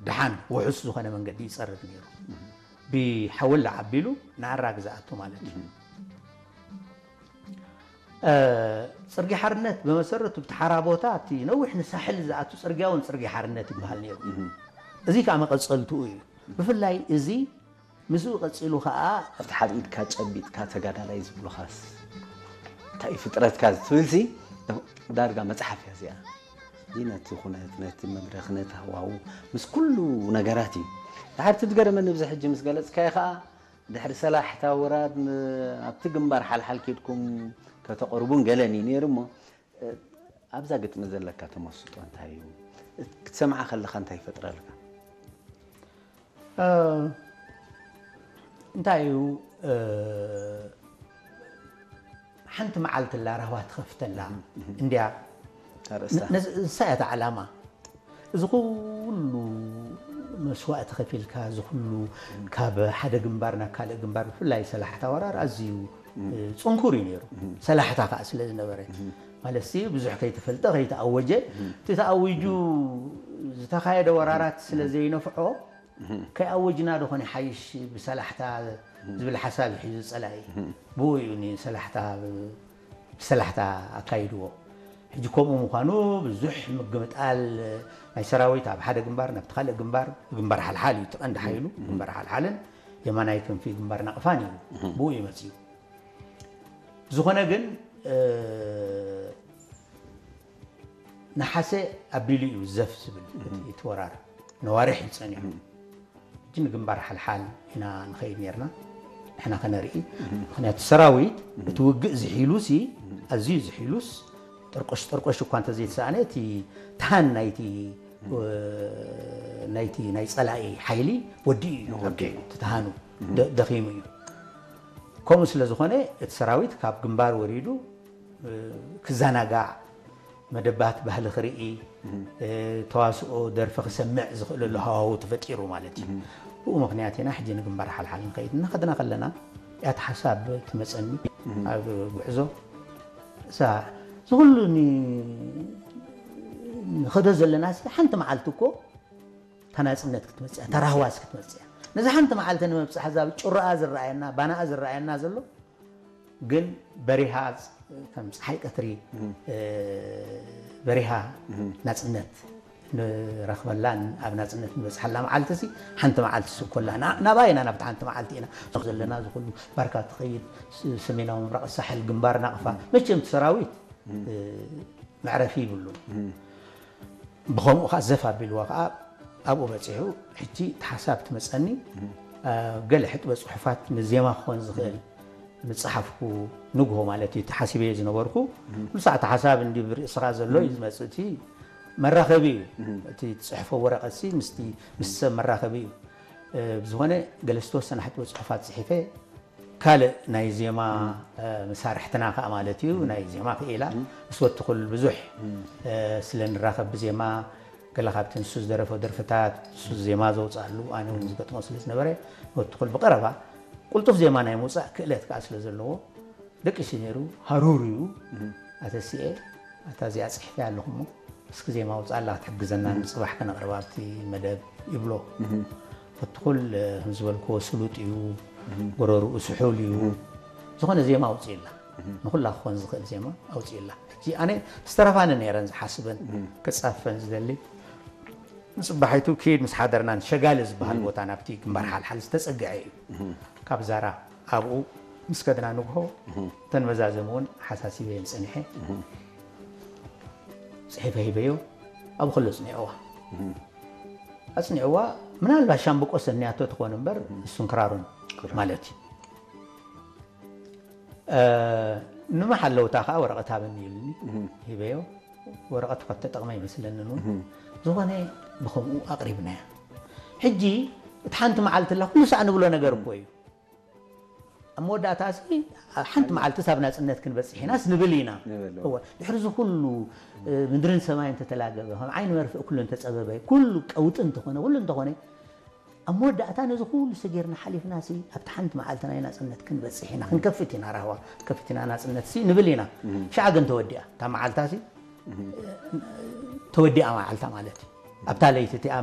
ደሓን ውሑስ ዝኾነ መንገዲ ይጸርግ ነይሩ። ብሓወላ ዓቢሉ ንኣራግ ዝኣቱ ማለት እዩ። ጽርጊ ሓርነት ብመሰረቱ ብቲ ሓራ ቦታ እቲ ነዊሕ ንሳሕል ዝኣቱ ጽርግያ እውን ጽርጊ ሓርነት ይበሃል ነይሩ። እዚ ከዓ መቐጸልትኡ እዩ። ብፍላይ እዚ ምስኡ ቀጺሉ ከዓ ኣብቲ ሓደ ኢድካ ጨቢጥካ ተጋዳላይ ዝብሉኻስ እንታይ እዩ ፍጥረትካ ዝትብልሲ ዳርጋ መጽሓፍ እያ እዚኣ። እዚ ነቲ ኩነት፣ ነቲ መድረኽ፣ ነቲ ሃዋሁ ምስ ኩሉ ነገራት እዩ። ድሓር እቲ ዝገረመኒ ብዚ ሕጂ ምስ ገለጽካዮ ከዓ ድሕሪ ሰላሕታ ወራር ን-፣ ኣብቲ ግንባር ሓልሓል ኬድኩም ከተቕርቡን ገለን እዩ ነይሩ እሞ፣ እ፣ ኣብዛ ግጥሚ ዘለካ ተመስጦ እንታይ እዩ? ክትሰምዓ ከለኻ እንታይ ይፈጥረልካ? እ፣ እንታይ እዩ፣ እ፣ ሓንቲ መዓልቲ ኣላ ራህዋ ትኸፍተላ እንድያ። ኣርእስታ። ነ-፣ ነዚ፣ ንሳ እያ እታ ዓላማ። እዚ ኩሉ መስዋእቲ ከፊልካ፣ እዚ ኩሉ ካብ ሓደ ግንባር ናብ ካልእ ግንባር፣ ብፍላይ ሰላሕታ ወራር ኣዝዩ፣ እ፣ ጽንኩር እዩ ነይሩ። ሰላሕታ ከኣ ስለ ዝነበረ፣ ማለት ሲ ብዙሕ ከይተፈልጠ፣ ከይተኣወጀ፣ እቲ ተኣዊጁ ዝተኻየደ ወራራት ስለ ዘይነፍዖ፣ ከይኣወጅና ዶ ኾነ ሓይሽ ብሰላሕታ ዝብል ሓሳብ እዩ ሒዙ ጸላኢ። ብኡ እዩ ንሰላሕታ፣ ብሰላሕታ ኣካይድዎ። ሕጂ ከምኡ ምዃኑ ብዙሕ ምግምጣል ናይ ሰራዊት ኣብ ሓደ ግንባር ናብቲ ካልእ ግንባር፣ ግንባር ሓልሓል እዩ እቲ ቀንዲ ሓይሉ፣ ግንባር ሓልሓልን የማናይ ክንፊ ግንባር ናቕፋን እዩ። ብኡ እዩ መጺኡ። ዝኾነ ግን፣ እ፣ ነሓሰ ኣቢሉ እዩ ዘፍ ዝብል እቲ፣ እቲ ወራር። ነዋርሕ እዩ ጸኒሑ። ሕጂ ንግንባር ሓልሓል ኢና ንኸይድ ኔርና፣ ንሕና ከነርኢ። ምኽንያቱ ሰራዊት እቲ ውግእ ዝሒሉሲ፣ ኣዝዩ ዝሒሉስ፣ ጠርቆሽ ጠርቆሽ እኳ እንተዘይተሳእነ፣ እቲ ተሃን ናይቲ፣ እ፣ ናይቲ ናይ ጸላኢ ሓይሊ ወዲኡ እዩ። ወዲኡ። እቲ ተሃኑ ደ-፣ ደኺሙ እዩ። ከምኡ ስለ ዝኾነ፣ እቲ ሰራዊት ካብ ግንባር ወሪዱ፣ እ፣ ክዘናጋዕ፣ መደባት ባህሊ ክርኢ፣ እ፣ ተዋስኦ፣ ደርፊ ክሰምዕ ዝኽእለሉ ሃዋሁ ተፈጢሩ ማለት እዩ። ብኡ ምኽንያት ኢና ሕጂ ንግንባር ሓልሓል ንኸይድ እናኸድና ከለና እያ እቲ ሓሳብ ትመጸኒ ኣብ ጉዕዞ። እዛ፣ እዚ ኩሉ ን-፣ ንኸዶ ዘለና ሲ ሓንቲ መዓልቲ እኮ እታ ናጽነት ክትመጽእ እያ፣ እታ ራህዋስ ክትመጽእ እያ። ነዚ ሓንቲ መዓልቲ ንምብጻሕ እዛ ጭራኣ ዝረኣየና፣ ባናኣ ዝረኣየና ዘሎ ግን በሪሃ ዝ-፣ ከም ጸሓይ ቀትሪ፣ እ፣ በሪሃ ናጽነት ንረኽበላን ኣብ ናጽነት ንበጽሓላ መዓልቲ ሲ ሓንቲ መዓልቲ ስኮላ። ና-፣ ናብኣ ኢና፣ ናብታ ሓንቲ መዓልቲ ኢና። ሱቕ ዘለና ዝኹሉ ባርካ ትኸይድ፣ ስ-፣ ሰሜናዊ ምብራቕ ሳሕል፣ ግንባር ናቕፋ። መቸም እቲ ሰራዊት፣ እ፣ መዕረፊ ይብሉን። ብኸምኡ ኸዓ ዘፍ ኣቢልዋ ኸዓ ኣብኡ በጺሑ። ሕጂ እቲ ሓሳብ ትመጸኒ፣ እ፣ ገለ ሕጥበ ጽሑፋት ንዜማ ክኾን ዝኽእል ምጽሓፍኩ ንግሆ ማለት እዩ፣ ተሓሲበዮ ዝነበርኩ። ኩሉ ሰዓት ሓሳብ እንዲ ብርእስኻ ዘሎ እዩ ዝመጽእ። እቲ መራኸቢ እዩ። እቲ ትጽሕፎ ወረቐት ሲ ምስቲ፣ ምስ ሰብ መራኸቢ እዩ። እ፣ ብዝኾነ ገለ ዝተወሰነ ሕጥበ ጽሑፋት ጽሒፈ፣ ካልእ ናይ ዜማ፣ እ፣ መሳርሕትና ከኣ ማለት እዩ፣ ናይ ዜማ ክኢላ ምስ ወትኹል ብዙሕ፣ እ፣ ስለ ንራኸብ ብዜማ ገለ ካብቲ ንሱ ዝደረፎ ደርፍታት፣ ንሱ ዜማ ዘውጽኣሉ፣ ኣነ እውን ዝገጥሞ ስለ ዝነበረ፣ ወትኹል ብቐረባ ቅልጡፍ ዜማ ናይ ምውጻእ ክእለት ከኣ ስለ ዘለዎ፣ ደቂሱ ነይሩ፣ ሃሩር እዩ። ኣተሲኤ፣ ኣታ እዚኣ ጽሒፈያ ኣለኹ እሞ፣ እስኪ ዜማ ውጻላ ክትሕግዘና ንጽባሕ ከነቕርባ ኣብቲ መደብ ይብሎ። ፈትኹል፣ ከም ዝበልክዎ ስሉጥ እዩ፣ ጎረርኡ ስሑል እዩ። ዝኾነ ዜማ ኣውጽእላ። ንኹላ ክኾን ዝኽእል ዜማ ኣውጽእላ። ሕጂ ኣነ ዝተረፋኒ ነይረን ዝሓስበን፣ ክጻፈን ዝደሊ። ንጽባሒቱ ኪድ ምስ ሓደርናን ሸጋሊ ዝበሃል ቦታ ናብቲ ግንባር ሓልሓል ዝተጸግዐ እዩ። ካብ ዛራ ኣብኡ ምስ ከድና ንግሆ እተን መዛዘሚ እውን ሓሳሲበየን ጸኒሐ። ጽሒፈ ሂበዮ፣ ኣብኡ ከሎ ኣጽኒዕዋ። ኣጽኒዕዋ፣ ምናልባት ሻምብቆ ሰንያቶ ትኾን እምበር፣ እሱን ክራሩን ክራር። ማለት እዩ። እ፣ ንመሓለውታ ከኣ ወረቐት ሃበኒ ኢሉኒ፣ ሂበዮ። ወረቐት እኳ ተጠቕመ ይመስለኒ እውን። ዝኾነ ብኸምኡ ኣቕሪብናያ። ሕጂ፣ እቲ ሓንቲ መዓልቲ ኣላ፣ ኩሉ ሳዕ ንብሎ ነገር እኮ እዩ። ኣብ መወዳእታ እዚ፣ ሓንቲ መዓልቲ ሳብ ናጽነት ክንበጽሕ ኢናስ ንብል ኢና። ንብል። እወ፣ ድሕሪ እዚ ኩሉ፣ እ፣ ምድርን ሰማይን እንተተላገበ፣ ከም ዓይኒ መርፍእ ኩሉ እንተጸበበ፣ ኩሉ ቀውጢ እንተኾነ፣ ኩሉ እንተኾነ፣ ኣብ መወዳእታ ነዚ ኩሉ ሰጊርና ሓሊፍና ሲ ኣብቲ ሓንቲ መዓልቲ ናይ ናጽነት ክንበጽሕ ኢና፣ ክንከፍት ኢና ራህዋ፣ ክንከፍት ኢና ናጽነት ሲ ንብል ኢና። ሻዕ ግን ተወዲኣ። እታ መዓልታ ሲ ተወዲኣ መዓልታ ማለት እዩ። ኣብታ ለይቲ እቲኣ